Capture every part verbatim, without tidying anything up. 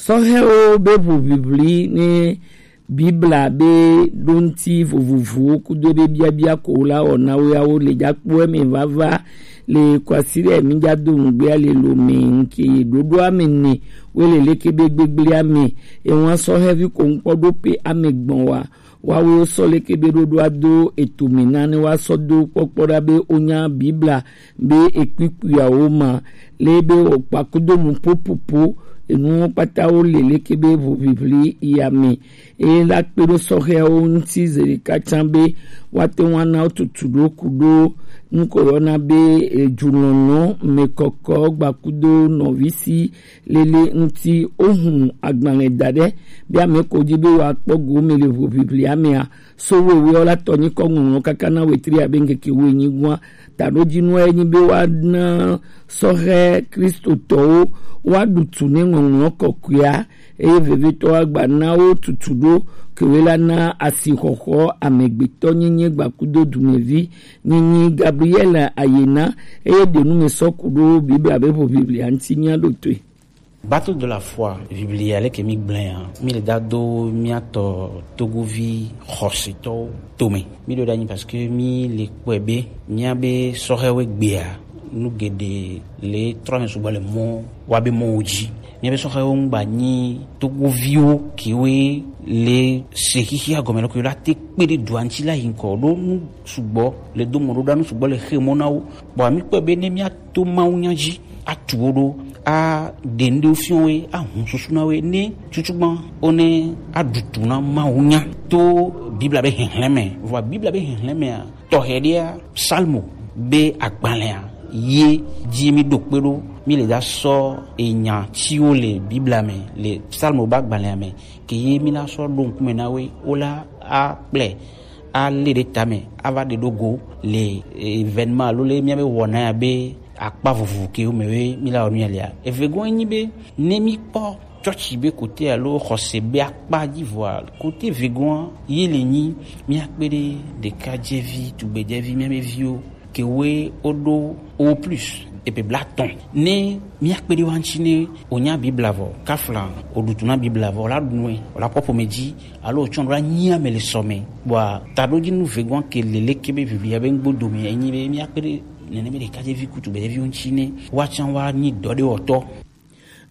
Sɔhɛwo be ʋuʋiʋli ne Bibla be ɖoŋti vovovowo kudo be biabia ko la wɔna woawo le jakpo eme vava le kwasi ɖe mi jado ŋgbea le lo me ŋke ɖoɖo ame ne wele leke be gbegblea me ewa sɔhɛvi ko ŋkpɔ ɖo pe ame gbɔn wa. Woawo sɔ leke be ɖoɖoa do eto me na ne woasɔ do kpɔkpɔ ɖa be wonya Bibla be ekpikpuiawo ma le be wòkpa kudo nu popopo enuwo kpata wo le leke be ʋuʋiʋli ya me. Eye la kpe ɖo sɔhɛawo ŋuti zeɖeka tsã be woate ŋu ana wo tutu ɖo ku ɖo nuko yɔna be ejulɔnɔ mekɔkɔ gbakudo nɔvisi lele ŋuti wohu agbalẽ da ɖe be ame ko dzi be woakpɔ go me le ʋuʋiʋlia mea, so wewe la tɔ nyikɔ ŋɔŋlɔ kaka na wetri abe ŋkeke wuenyi gua. Taɖodzinu enyi be woana sɔhɛ Kristotɔwo woaɖu tu ne ŋɔŋlɔ kɔkɔea eye vevitɔ agba na wo tutu ɖo kewe la na asixɔxɔ amegbetɔ nyenye gbakudo dumevi nyinyi Gabriel ayena eye ɖenu me sɔ ku ɖo Bibla be ʋuʋiʋlia ŋuti mía ɖo toe. Battle de la foi, Biblia leke mi gblẽ ya, mi le da do mía tɔ Togovi xɔsetɔwo tome. Mi ɖo ɖe anyi parce que mi le kpɔe be mía be sɔhɛwo gbea nu geɖe le trɔ me sugbɔ le mɔ wa be mɔwo dzi. Mía be sɔhɛwo ŋgba nyi Togoviwo kewe le se xixia gɔme lɔ kewe la te kpe ɖe dua ŋuti la yi ŋkɔ ɖo nu sugbɔ le do mɔ ɖo ɖa nu sugbɔ le xe mɔ na wo. Bɔn mi kpɔe be ne mía to Mawu nya dzi atu wo ɖo aɖe ŋɖewo fiɔ wo ahun susu na wo ne tutugbã wo ne aɖutu na Mawu nya to Bibla be xexlẽ me. Vɔa Bibla be xexlẽ mea tɔxɛ ɖea Psalmo be agbalẽa ye dzi mi ɖo kpe ɖo mi le da sɔ enya ciwo le Bibla me le Psalmo be agbalẽa me ke ye mi la sɔ ɖo ŋkume na wo wo la akplɛ ale ɖe tame ava ɖe ɖo go le événement alo le mía be wɔna ya be akpa vovovo ke wo me we mi la wɔ nu ya lea. Eve gɔn nyi be ne mi kpɔ tsɔtsi be kote alo xɔse be akpa dzi vɔa kote ve gɔn ye le nyi mía kpe ɖe ɖekadzevi tugbedzɛvi mía be viwo ke woe woɖo o plus epe bla tɔn ne mía kpe ɖe wa ŋuti ne wonya Bibla vɔ kafla woɖutu na Bibla vɔ la ɖu nue wola kpɔ ƒome dzi alo wotsɔ ɖo la nyi ame le sɔ me. Bɔa taɖodzinu vegɔn ke le leke be Biblia be ŋgbodo me enyi be mía kpe ɖe nene be ɖekadzevi kutu gbedzeviwo ŋuti ne woatsã woanyi dɔ ɖe wɔtɔ.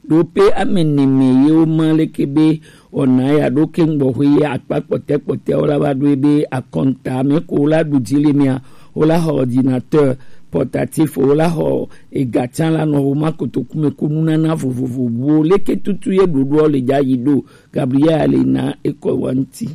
Ɖo pe ame ne me ye woma leke be wɔna ya ɖo ke ŋgbɔxwe ye akpa kpɔtɛ kpɔtɛ wo la va ɖo ebe akɔnta me ko wo la ɖu dzi le mea wo la xɔ ordinateur portatif wo la xɔ ega tsã la nɔ wo ma kotoku me ko nunana vovovowo leke tutu ye ɖoɖoa le dza yi ɖo Gabriel le na ekɔ wa ŋuti.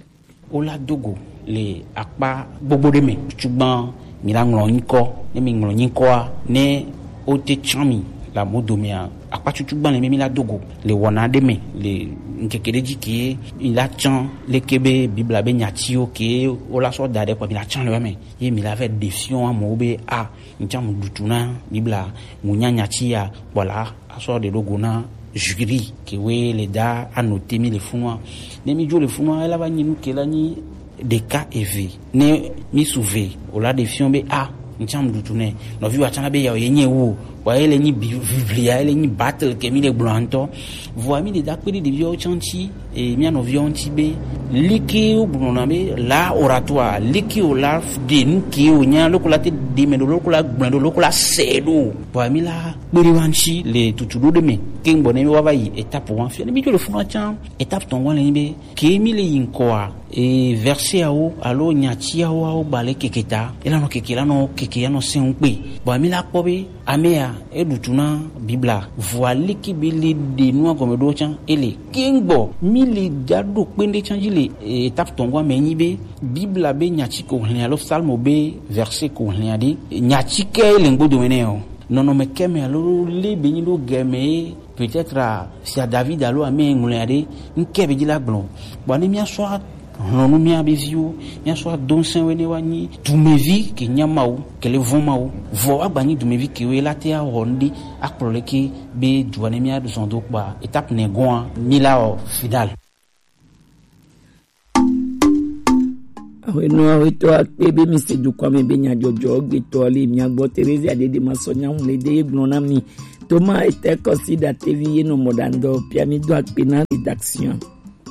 Wo la do go le akpa gbogbo ɖe me. Tutugbã mi la ŋlɔ nyikɔ, ne mi ŋlɔ nyikɔa, ne wo te tsã mi le amodo mea, akpa tutugbã le mi mi la do go le wɔna ɖe me le ŋkeke ɖe dzi ke mi la tsã leke be Bibla be nyatiwo ke wo la sɔ da ɖe kɔ mi la tsã le wa me ye mi la vɛ ɖe fiɔ amewo be a ŋtsã mu ɖutu na Bibla mu nya nyati ya kpɔ la asɔ ɖe ɖo go na jury ke we le da anote mi le funua. Ne mi dzo le funua ela va nyi nu ke la nyi ɖeka eve ne mi su ve o la ɖe fiɔ be a ŋtsã mu ɖutu nɛ nɔvi wa tsã la be ya ye nye wo wa ye le nyi biblia ye le nyi battle ke mi le gblɔ ŋutɔ. Vɔa mi le da kpe ɖe ɖeviawo tsã ŋuti e mía nɔviawo ŋuti be leke wo gblɔna be la oratoire leke o la ɖe nu ke o nya loko la te ɖe me ɖo loko la gblẽ ɖo loko la sɛ ɖo. Vɔa mi la kpe ɖe wa ŋuti le tutu ɖo ɖe me ke ŋgbɔ ne mi wa va yi étape wa fia ne mi dzo le funa tsã étape tɔn wa le nyi be ke mi le yi ŋkɔa e verseawo alo nyatiawo awo gba le keke ta ela nɔ keke la nɔ keke ya nɔ sɛn ŋu kpe. Vɔa mi la kpɔ be amea eɖutu na Bibla vɔa leke be le ɖe nua gɔme ɖo tsã ele ke ŋgbɔ mi le da ɖo kpe ŋɖe tsã dzi le étape tɔn wa me nyi be Bibla be nyati ko hlẽ alo Psalmo be verset ko hlẽa ɖe nyati ke le ŋgbodo me nɛ o nɔnɔme ke me alo le be nyi ɖo gɛme ye peut-être fia David alo ame ŋlɔa ɖe ŋke be dzi la gblɔ. Bɔa ne mía sɔ hlɔnu mía be viwo mía sɔ do ŋsɛn we ne wa nyi dumevi ke nya Mawu ke le vɔn Mawu vɔ wa gba nyi dumevi ke we la te awɔ ŋɖe akplɔ leke be dua ne mía zɔn do kpa étape ne gɔn mi la wɔ final. Ahwenɔ ahwetɔ akpe be mi se dukɔ me be nyadzɔdzɔ gbetɔ le mia gbɔ Terezia dede ma sɔ nyawu le de gblɔ na mi Thomas Etekɔsi Datevi ye nɔ mɔ ɖa ŋdɔ pia mi do akpe na rédaction.